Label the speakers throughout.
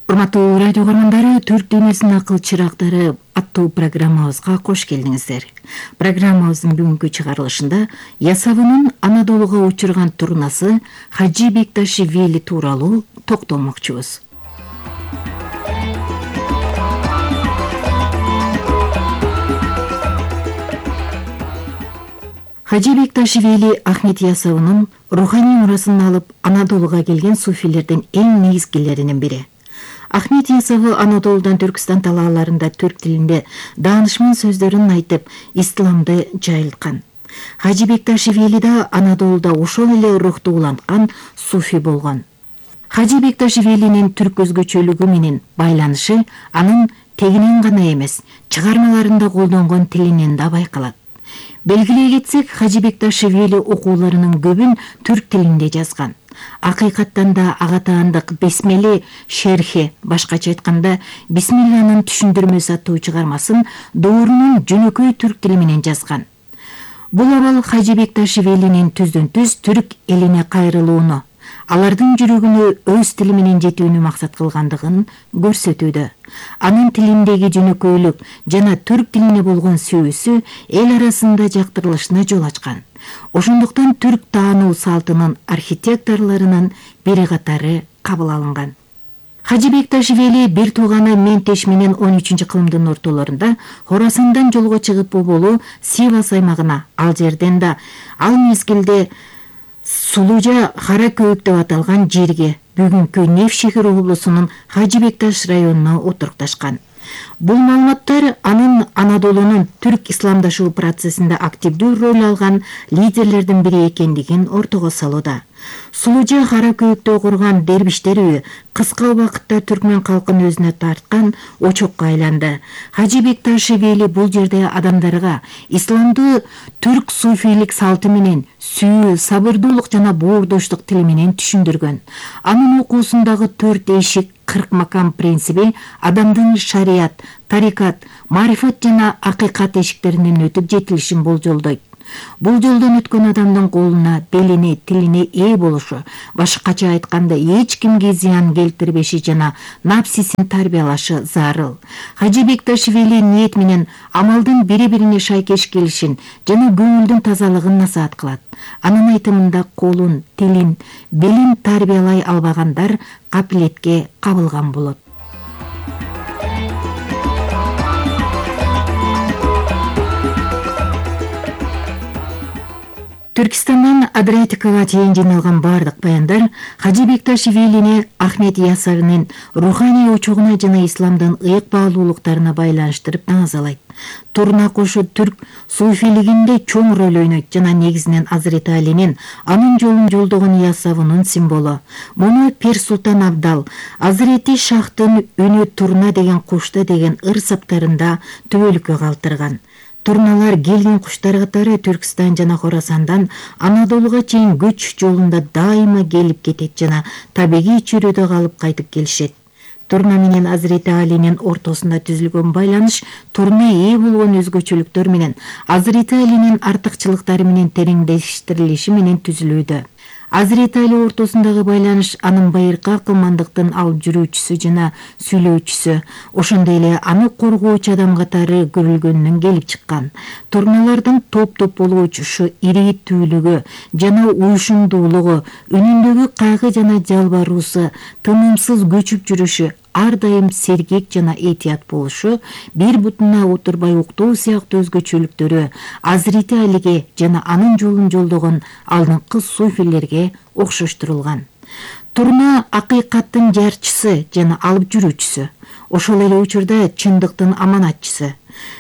Speaker 1: Урматтуу радио көргөндөрү, Түрк дүйнөсүнүн акыл чырактары аттуу программабызга кош келдиңиздер. Программабыздын бүгүнкү чыгарылышында Ясавынын Анадолуга учурган турнасы Хажи Бекташвили тууралуу токтолмокчубуз. Хажи Бекташвили Ахмет Ясавынын руханий мурасын алып Анадолуга келген суфилердин эң негизгилеринин бири. Ахмет Ясавы Анадолудан Түркистан талааларында түрк тилинде даанышман сөздөрүн айтып, исламды жайылткан. Хажи Бекташвили да Анадолуда ошол эле рухту уланткан суфи болгон. Хажи Бекташвилинин түрк өзгөчөлүгү менен байланышы анын тегинен гана эмес, чыгармаларында колдонгон тилинен да байкалат. Белгилей кетсек, Хажи Бекташвили окууларынын көбүн түрк тилинде жазган. Акыйкаттан да агатаандык Бесмели шерхи, башкача айтканда Бисмилланын түшүндүрмөсү аттуу чыгармасын доорунун жөнөкөй түрк тили менен жазган. Бул абал Хажи Бекташвилинин түздөн-түз түрк элине кайрылууну, алардын жүрөгүнө өз тили менен жетүүнү максат кылгандыгын көрсөтүүдө. Анын тилиндеги жөнөкөйлүк жана түрк тилине болгон сүйүүсү эл арасында жактырылышына жол ачкан. Ошондуктан түрк таануу салтынын архитекторлорунун бири катары кабыл алынган. Хажи Бекташвили бир тууганы Ментеш менен 13-кылымдын ортолорунда Хорасандан жолго чыгып болболу Сивас аймагына, ал жерден да ал мезгилде Сулужа Кара Көөк деп аталган жерге, бүгүнкү Невшехир облусунун Хажи Бекташ районуна отурукташкан. Бул маалыматтар анын Анадолунун түрк исламдашуу процессинде активдүү роль алган лидерлердин бири экендигин ортого салууда. Сулужа Кара Көөктө курган дербиштер үйү кыска убакытта түркмөн калкын өзүнө тарткан очокко айланды. Хажи Бекташвили бул жерде адамдарга исламды түрк суфийлик салты менен сүйүү, сабырдуулук жана боордоштук тили менен түшүндүргөн. Анын окуусундагы 4 эшик 40 макам принциби адамдын шарият, тарикат, марифат жана акыйкат эшиктеринен өтүп жетилишин болжолдойт. Бул жолдон өткөн адамдын колуна, белине, тилине ээ болушу, башкача айтканда эч кимге зыян келтирбеши жана напсисин тарбиялашы зарыл. Хажи Бекташвили ниет менен амалдын бири-бирине шайкеш келишин жана көңүлдүн тазалыгын насаат кылат. Анын айтымында колун, тилин, белин тарбиялай албагандар капилетке кабылган болот. Түркистандан Адриатикага чейин жыйналган бардык баяндар Хажи Бекташвилини Ахмет Ясавынын руханий очогуна жана исламдын ыйык баалуулуктарына байланыштырып тазалайт. Турна кошу түрк суфилигинде чоң роль ойнойт жана негизинен Азирети Алинин анын жолун жолдогон Ясавынын символу. Муну Пир Султан Абдал Азирети Шахтын үнү турна деген кушта деген ыр саптарында түбөлүккө калтырган. Турналар келген куштар катары Түркистан жана Хорасандан Анадолуга чейин көч жолунда дайыма келип кетет жана табигый чөйрөдө калып кайтып келишет. Турна менен Азирети Алинин ортосунда түзүлгөн байланыш турна ээ болгон өзгөчөлүктөр менен Азирети Алинин артыкчылыктары менен тереңдештирилиши менен түзүлүүдө. Азирети Али ортосундагы байланыш анын байыркы акылмандыктын алып жүрүүчүсү жана сүйлөөчүсү, ошондой эле аны коргоочу адам катары көрүлгөнүнөн келип чыккан. Турналардын топ-топ болуп учушу, ирээттүүлүгү жана уюшумдуулугу, үнүндөгү кайгы жана жалбаруусу, тынымсыз көчүп жүрүшү, ар дайым сергек жана этият болушу, бир бутуна отурбай уктоо сыяктуу өзгөчөлүктөрү Азирети Алиге жана анын жолун жолдогон алдыңкы суфилерге окшоштурулган. Турна акыйкаттын жарчысы жана алып жүрүүчүсү, ошол эле учурда чындыктын аманатчысы.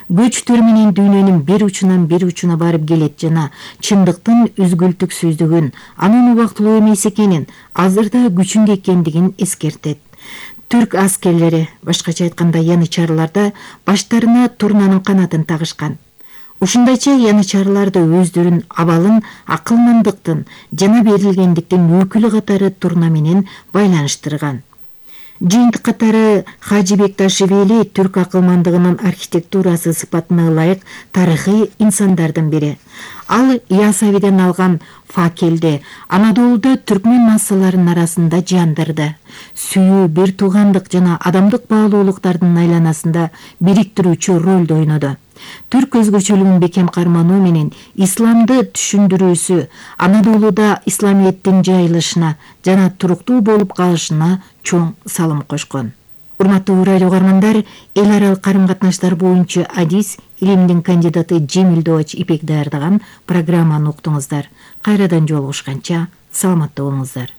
Speaker 1: Көчтөр менен дүйнөнүн бир учунан бир учуна барып келет жана чындыктын үзгүлтүксүздүгүн, анын убактылуу эмес экенин, азырда күчүндө экендигин эскертет. Түрк аскерлери, башкача айтканда янычарларда баштарына турнанын канатын тагышкан. Ушундайча янычарларды өздөрүн абалын акылмандыктын жана берилгендиктин өкүлү катары турна менен байланыштырган. Жыйынтык катары Хажы Бекташвили түрк акылмандыгынын архитектурасы сыпатына ылайык тарыхый инсандардын бири. Ал Ясавиден алган факелди Анадолуда түркмөн массаларынын арасында жандырды. Сүйүү, бир туугандык жана адамдык баалуулуктардын айланасында бириктирүүчү ролду ойноду. Түрк өзгөчөлүгүн бекем кармануу менен исламды түшүндүрүүсү Анадолуда исламиеттин жайылышына жана туруктуу болуп калышына чоң салым кошкон. Урматтуу радио угармандар, эл аралык карым-катнаштар боюнча адис илимдин кандидаты Жемил Дооч Ипек даярдаган программаны уктуңуздар. Кайрадан жолугушканча саламатта болуңуздар.